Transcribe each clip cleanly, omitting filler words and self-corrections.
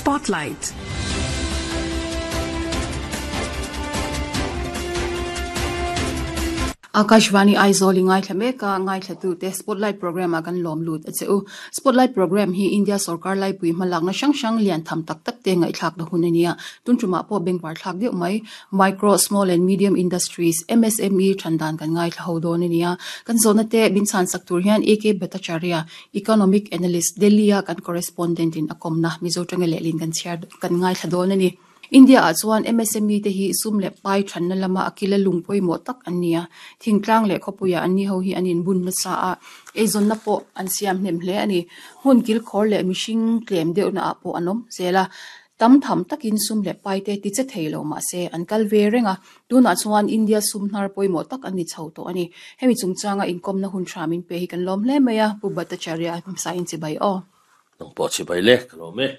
Spotlight. Akashvani Aizawl i ngaithla mek a, ngaithlatute Spotlight Programme ah kan lawm lut a che u. Spotlight Programme hi India sorkar laipui hmalakna hrang hrang lian tham tak tak te ngaihthlakna hun a nia. Tun tumah pawh bengvar thlak deuh mai Micro, Small and Medium Industries, MSME, than dan kan ngaithla ho dawn a nia. Kan zawhna te min chhan sak tur hian AK Bhattacharya, Economic Analyst, Delhi-a kan correspondent in a kawmna Mizo tanga lehlin kan chhiar kan ngaithla dawn a ni. India-ah chuan MSME te hi sum leh pai thanna lama a kila lung pawimawh tak an ni a. Thingtlang leh khawpuiah an ni ho hi an inbun nasa a, eizawnna pawh an siam hnem hle a ni. Hmun kilkhawr leh mihring tlem deuhna ah pawh an awm zel a. Tam tham takin sum leh pai te ti che thei lo mah se an kal ve reng a, tunah chuan India sum hnar pawimawh tak an ni chho tawh a ni. Hemi chungchanga inkawmna hun tha min pe hi kan lawm hle mai a, Pu Bhattacharya hmsain chibai aw. Nang pawh chibai le, ka lawm e.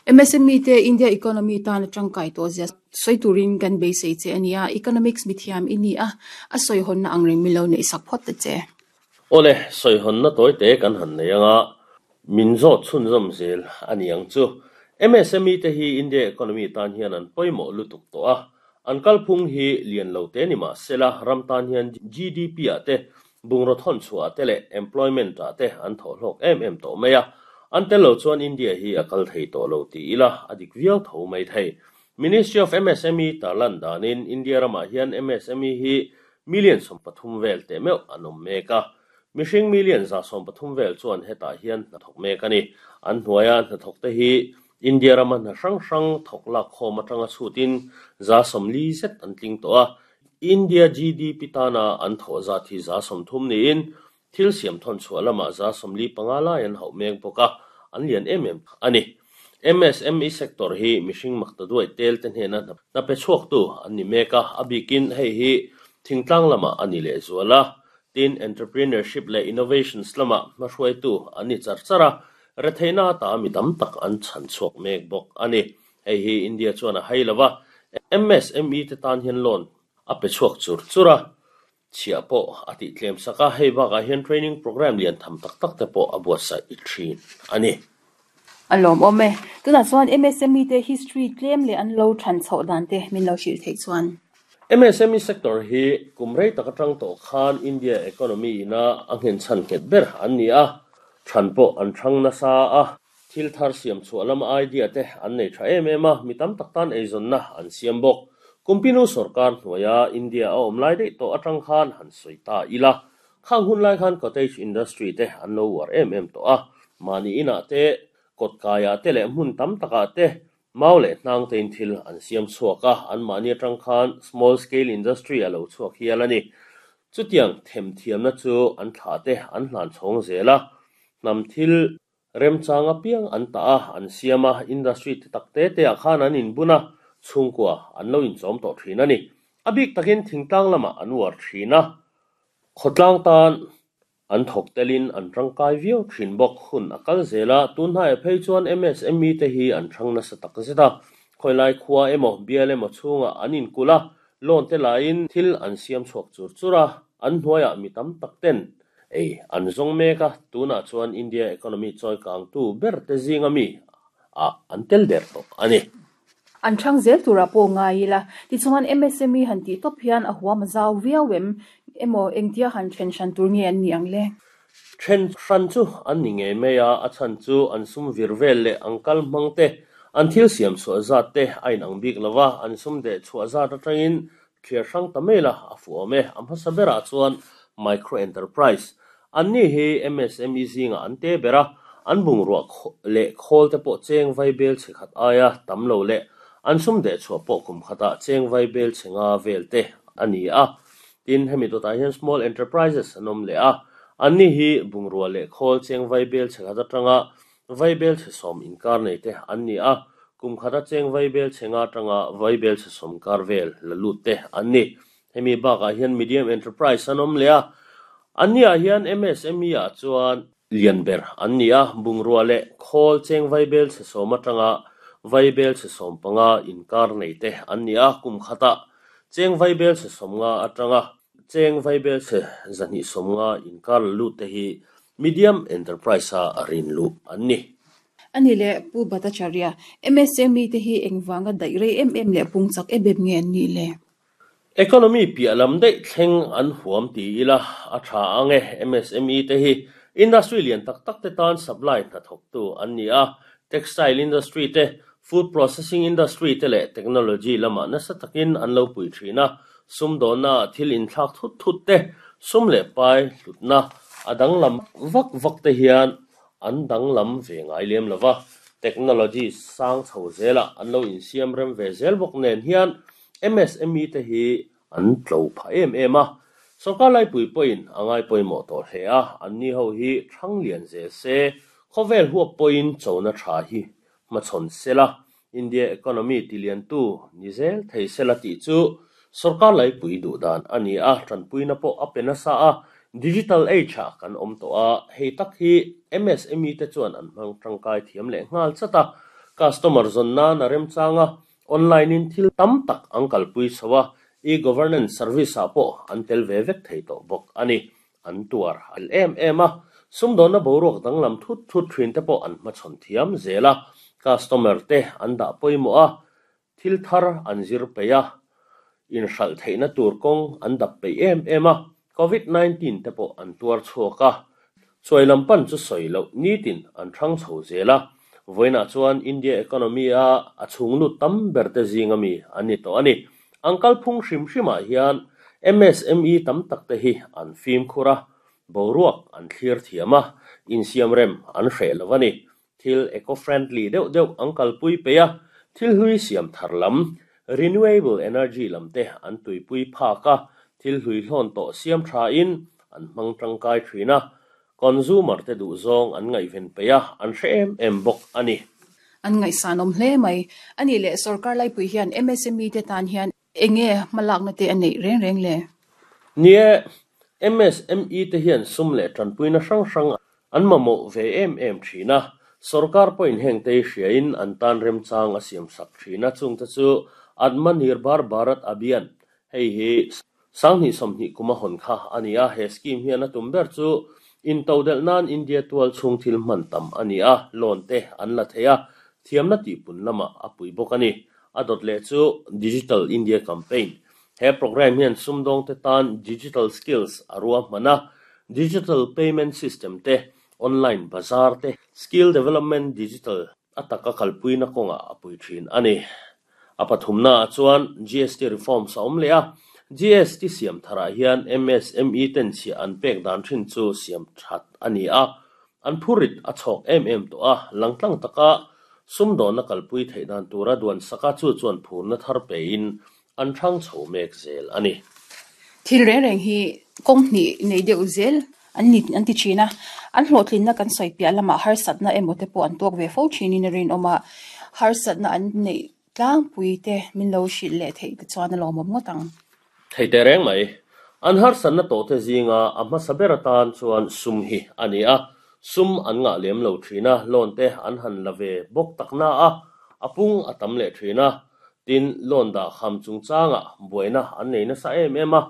MSME te India economy tan a tangkai tawh zia sawi turin kan beisei che a nia, economics mithiam i ni a, a sawihawnna ang reng min lo neih sak phawt ta che. Awle, sawihawnna tawi te kan han nei anga, Min zawt chhunzawm zel a ni ang chu. MSME te hi India economy tan hian an pawimawh lutuk tawh a, an kalphung hi lian lo te ni mah sela ram tan hian GDP ah te, bungraw thawn chhuah ah te leh employment ah te an thawh hlawk em em tawh mai a. An tel lo chuan India hi a kal thei tawh lo ti ila a dik viau tho mai thei. Ministry of MSME tarlan danin India ramah hian MSME hi million 13 vel teh meuh an awm mek a. Mihring million 13 vel chuan hetah hian hnathawk mek a ni. An hnuaia hnathawkte hi India rama hna hrang hrang thawk lak khawm atanga chhutin 40 zet an tling tawh a. India GDP tana an thawh zat hi 30 niin thil siam thawn chhuah lamah 45 lai an hauh mek bawk a, an lian em em a ni. MSME sector hi mihring makta duai tel te hnena hna pe chhuaktu an ni mek a, a bikin hei hi thingtlang lamah a ni lehzual a. Tin, entrepreneurship leh innovations lamah hmahruaitu an ni char char a, retheihna ata mi tam tak an chhan chhuak mek bawk a ni. Hei hi India chuan a hai lo va, MSME te tan hian loan a pe chhuak chur chur a, chhiah pawh a tih tlem sak a, hei bakah hian training programme lian tham tak tak te pawh a buatsaih thin a ni. A lawmawm e. Tunah chuan MSME te history tlem leh an lo than chhoh dan te min lo hrilh theih chuan. MSME sector hi kum rei tak atang tawh khan India economy ina a nghenchhan nghet ber an ni a, than pawh an thang nasa a, thil thar siam chhuah lama idea te an nei tha em em a, mi tam tak tan eizawnna an siam bawk. Kumpinu sorkar hnuaia India a awm lai daih tawh atang khan han sawi ta ila, khang hun lai khan cottage industry te an lo uar em em tawh a, mahni inah te, kawtkaiah te leh hmun tam takah te Mau leh hnang tein thil an siam chhuak a, anmahni atang khan small scale industry a lo chhuak hial a ni. Chutiang themthiamna chu an thlah te an hlan chhawng zel a, hnam thil remchang apiang an tah a, an siam a, industry te tak te te ah khan an inbun a, chhungkua an lo inchawm tawh thin a ni. A bik takin thingtlang lamah an uar thin a, khawtlang tan An thawk telin an tangkai viau thin bawk. Hun a kal zel a, tun hnaiah phei chuan MSME te hi an thang nasa tak zet a. Khawilai khua emaw, bial emaw chhungah an inkulh a, loan te laiin thil an siam chhuak chur chur a, an hnuaiah mi tam tak ten ei an zawng mek a, tunah chuan India economy chawi kangtu ber te zinga mi ah an tel der tawh a ni. An thang zel turah pawh ngai ila, tichuan MSME han tih tawp hian a huam a zau viau em? Emaw engtia han then hran tur nge an nih ang le? Then hran chu an ni ngei mai a, a chhan chu an sum vir vel leh ang kal hmang te, an thil siam chhuah zat te a inang bik lo va, an sum deh chhuah zat atangin thliar hrang ta mai la a fuh awm e. A hmasa berah chuan Micro Enterprise An ni hi MSME zingah an te ber a, an bungrua leh khawl te pawh cheng vai bel chhe khat aia tam lo leh an sum deh chhuah pawh kum khatah cheng vai bel chhe nga vel te a ni a. Tin, hemi dawtah hian Small Enterprises an awm leh a, an ni hi bungrua leh khawl cheng vai bel chhe khat atanga vai bel chhe sawm inkar nei te an ni a, kum khata cheng vai bel chhe nga atanga vai bel chhe sawm kar vel la lut te an ni. Hemi bakah hian Medium Enterprise an awm leh a, anniah hian MSME ah chuan lian ber an ni a, bungrua leh khawl cheng vaibel chhe sawm atanga vaibel chhe 15 inkar nei te an ni a, kum khatah cheng vaibel chhe 50 atanga cheng vaibel chhe 250 inkar la lut te hi Medium Enterprise a rin luh an ni. Ani leh Pu Bhattacharya, MSME te hi engvanga daih rei em em leh pung chak em em nge an nih le? Economy piah lam daih thleng an huam ti ila a tha ang e. MSME te hi industry lian tak tak te tan supply hnathawktu an ni a, textile industry te, food processing industry te leh technology lamah nasa takin an lo pui thin a, sumdawnna ah thil inthlak thut thut te, sum leh pai hlutna a danglam vak vak te hian an danglam ve ngai lem lo va, technology sang chho zelah an lo insiam rem ve zel bawk nen hian MSME te hi an tlo phah em em a, sorkar laipui pawhin a ngai pawimawh tawh hle a, anni ho hi thlang lian zel se, khawvel huap pawhin chona tha hi hmachhawn sela, India economy tiliantu ni zel thei sela tih chu sorkar laipui duh dan a ni a, tanpuina pawh a pe nasa a, digital age ah kan awm tawh a, hei tak hi MSME te chuan an hmang tangkai thiam leh nghal chat a, customer zawn nan a remchang a, Online in thil tam tak an kalpui chho a, e-governance service ah pawh an tel ve vek thei tawh bawk a ni. An tuar al em em a, sumdawnna boruak danglam thut thut thin te pawh an hmachhawn thiam zel a, customer te an dah pawimawh a, thil thar an zir peih a, inhralh theihna tur kawng an dap peih em em a, Covid 19 te pawh an tuar chhuak a, chuai lam pan chu sawi loh nitin an thang chho zel a, vawiinah chuan India economy a a chhung lut tam ber te zing ami an ni tawh a ni. An kalphung hrim hrimah hian MSME tam tak te hi an fimkhur a, boruak an thlir thiam a, insiamrem an hreh lo a ni. Thil eco-friendly deuh deuh an kalpui peih a, thil hlui siam thar lam, renewable energy lam te an tuipui phak a, thil hlui hlawn tawh siam thain an hmang tangkai thin a, consumer te duh zawng an ngaihven peih a, an hre em em bawk a ni. An ngaihsanawm hle mai. A nih leh sorkar laipui hian MSME te tan hian Enge hmalakna te a neih reng reng le? Nie, MSME te hian sum leh tanpuina hrang hrang an mamawh ve em em thin a, sorkar pawhin heng te hi hriain an tan remchang a siam sak thin a, chungte chu Atmanirbhar Bharat Abhiyan, hei hi sanghnih sawmhnih kum a hawn kha a ni a, he scheme hian a tum ber chu intodelh nan India tual chhung thil hman tam a ni a, loan te an la thei a, thiamna tihpun lamah a pui bawk a ni. A dawt leh chu Digital India Campaign. He programme hian sumdawngte tan digital skills a ruahman a, digital payment system te, online bazaar te, skill development digital a taka kalpuina kawngah a pui thin a ni. A pathumnaah chuan GST reforms a awm leh a, GST siam tharah hian MSME ten chhiah an pek dan thin chu siam that a ni a, An phurit a chhawk em em tawh a, langtlang taka sumdawnna kalpui theih dan tura duan saka chu chuan phurna thar pein an hrang chho mek zel a ni. Thil reng reng hi kawng hnih nei deuh zel an ni an ti thin a, an hlawhtlinna kan sawi piah lamah harsatna emaw te pawh an tuak ve fo thinin a rinawm a, harsatna an neih tlangpui te min lo hrilh leh theih te chuan a lawmawm ngawt ang. Thei teh reng mai. An harsatna tawhte zinga a hmasa ber atan chuan sum hi a ni a, sum an ngah lem lo thin a, loan te an han la ve bawk tak na a, a pung a tam leh thin a. Tin, loan dah kham chungchangah buaina an nei nasa em em a,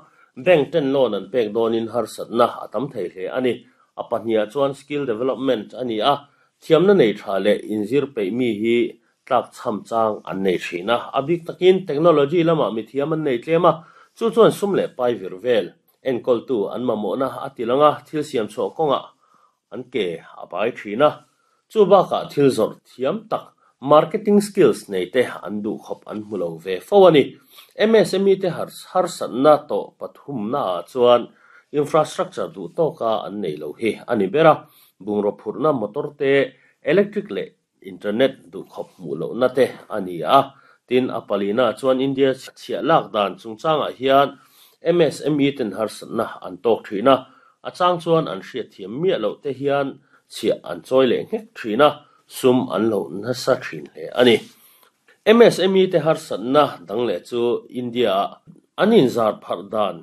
bank ten loan an pek dawnin harsatna a tam thei hle a ni. A pahniha chuan skill development a ni a, thiamna nei tha leh inzir peih mi hi tlak chham chang an nei thin a, a bik takin technology lamah mithiam an nei tlem a, chu chuan sum leh pai vir vel enkawltu an mamawhna a ti lang a, thil siam chhuah kawngah an ke a bai thin a, chu bakah thil zawrh thiam tak marketing skills nei te an duh khawp an hmu lo ve fo a ni. MSME te harsatna tawh pathumnaah chuan infrastructure duh tawka an nei lo hi a ni ber a, bungraw phurhna motor te, electric leh Internet duhkhawp hmuh lohna te a ni a, tin a palina chuan India chhiah lak dan chungchangah hian MSME ten harsatna an tawk thin a, a chang chuan an hriatthiam miah loh te hian chhiah an chawi leh nghek thin a, sum an lo nasa thin hle a ni. MSME te harsatna dang leh chu India-ah an inzar pharh dan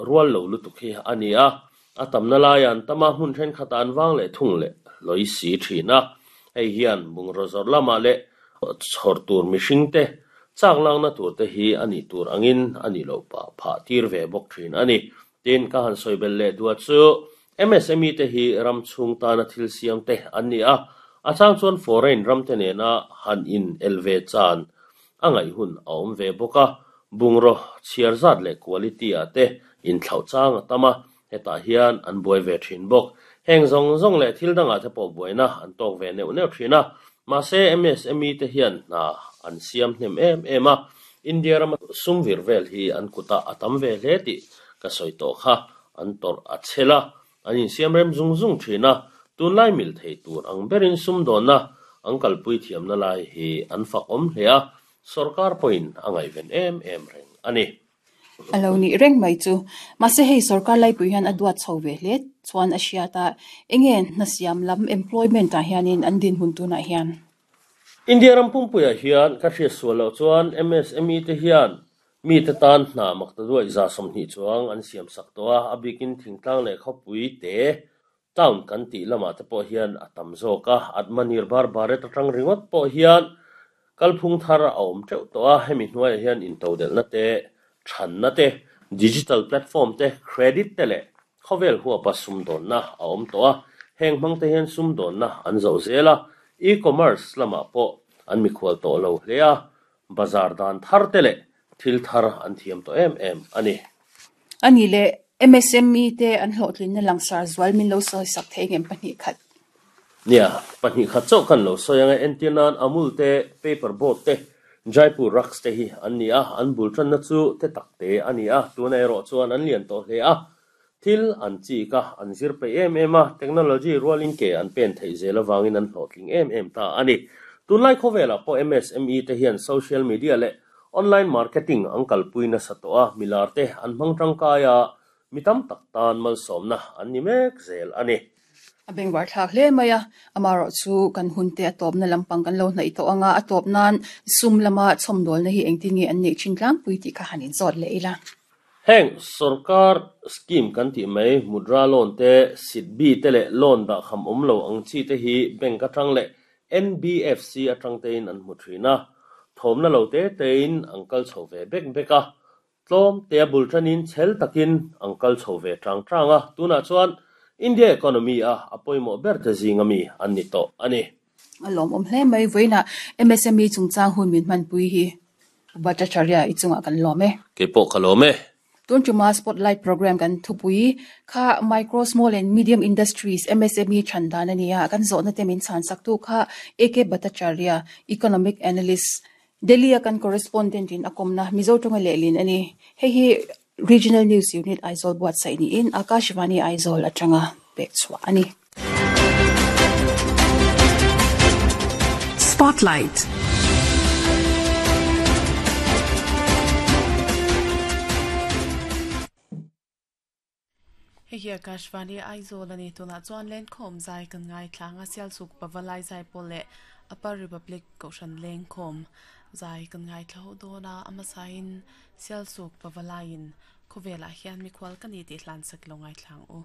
rual lo lutuk hi a ni a, A tamna laia an tam a, hmun thenkhatah an vang leh thung leh hlawi si thin a. Hei hian bungraw zawrh lamah leh chhawr tur mihringte chak lakna tur te hi a nih tur angin a nih loh pah phah tir ve bawk thin a ni. Tin, ka han sawi belh leh duah chu MSME te hi ram chhung tana thil siam te an ni a, A chang chuan foreign ram te nena han in el ve chan a ngaih hun a awm ve bawk a, bungraw chhiar zat leh quality ah te inthlauh chang a tam a, hetah hian an buai ve thin bawk. Heng zawng zawng leh thil dangah te pawh buaina an tawk ve neuh neuh thin a, mahse MSME te hian hna an siam hnem em em a, India rama sum vir vel hi an kutah a tam ve hle tih ka sawi tawh kha an tawrh a chhel a, An insiam rem zung zung thin a, tunlai mil thei tur ang berin sumdawnna an kalpui thiamna lai hi an fak awm hle a, sorkar pawhin a ngaihven em em reng a ni. A lo nih reng mai chu. Mahse hei sorkar laipui hian a duat chho ve hle chuan a hriat a, enge hna siam lam employment ah hianin an dinhmun tunah hian? India ram pumpuiah hian ka hriat sual loh chuan MSME te hian Mite tan hna makta duaih 20 chuang an siam sak tawh a, a bikin thingtlang leh khawpui te, town kan tih lamah te pawh hian a tam zawk a, Atmanirbhar Bharat atang ringawt pawh hian kalphung thar a awm teuh tawh a, hemi hnuaiah hian intodelhna te, thanna te, digital platform te, credit te leh khawvel huapa sumdawnna a awm tawh a, heng hmang te hian sumdawnna an zoh zel a, e-commerce lamah pawh an mikhual tawh lo hle a, Bazar dan thar te leh thil thar an thiam tawh em em a ni. A nih leh MSME te an hlawhtlinna langsar zual min lo sawi sak thei ngem 2 khat? Nia, 2 khat chauh kan lo sawi ang e. Entir nan Amul te, Paper Boat te, Jaipur Rugs te hi an ni a, an bul tanna chu te tak te a ni a, tuna erawh chuan an lian tawh hle a. Thil an chik a, an zir peih em em a, technology rualin ke an pen theih zel avangin an hlawhtling em em ta a ni. Tunlai khawvelah pawh MSME te hian social media leh online marketing an kalpui nasa tawh a, milar te an hmang tangkai a, mi tam tak tan malsawmna an ni mek zel a ni. A bengvar thlak hle mai a, amaherawh chu kan hun te a tawpna lampang kan lo hnaih tawh ang a, a tawp nan sum lama chhawmdawlna hi engtin nge an neih thin tlangpui tih kha han inzawt leh ila. Heng sorkar scheme kan tih mai Mudra loan te, SIDBI te leh loan dah kham awm lo ang chi te hi bank atang leh NBFC atang tein an hmu thin a, thawmna lo te tein an kal chho ve bek bek a, tlawm tea bul tanin chhel takin an kal chho ve tang tang a, tunah chuan India economy a a pawimawh ber te zinga mi an ni tawh a ni. A lawmawm hle mai, vawiinah MSME chungchang hun min hmanpui hi Bhattacharya i chungah kan lawm e. Kei pawh ka lawm e. Tun tuma Spotlight Programme kan thupui kha Micro, Small and Medium Industries, MSME, chhan dan a ni a, kan zawhna te min chhan saktu kha AK Bhattacharya, Economic Analyst, Delhi a kan correspondent in a kawmna Mizo tawnga lehlin a ni. Hei hi Regional News Unit Aizawl buatsaih niin Akashvani Aizawl atanga pek chhuah a ni. Spotlight. Hei hi Akashvani Aizawl a ni. Tunah chuan Lenkhawm zai kan ngaithla ang a, Sialsuk Pavalai zai pawh leh Upper Republic Kohhran Lengkhawm zai kan ngaithla ho dawn a, a hmasain Sialsuk Pavalaiin khawvelah hian mikhual ka ni tih hlansak lo ngaithla ang u.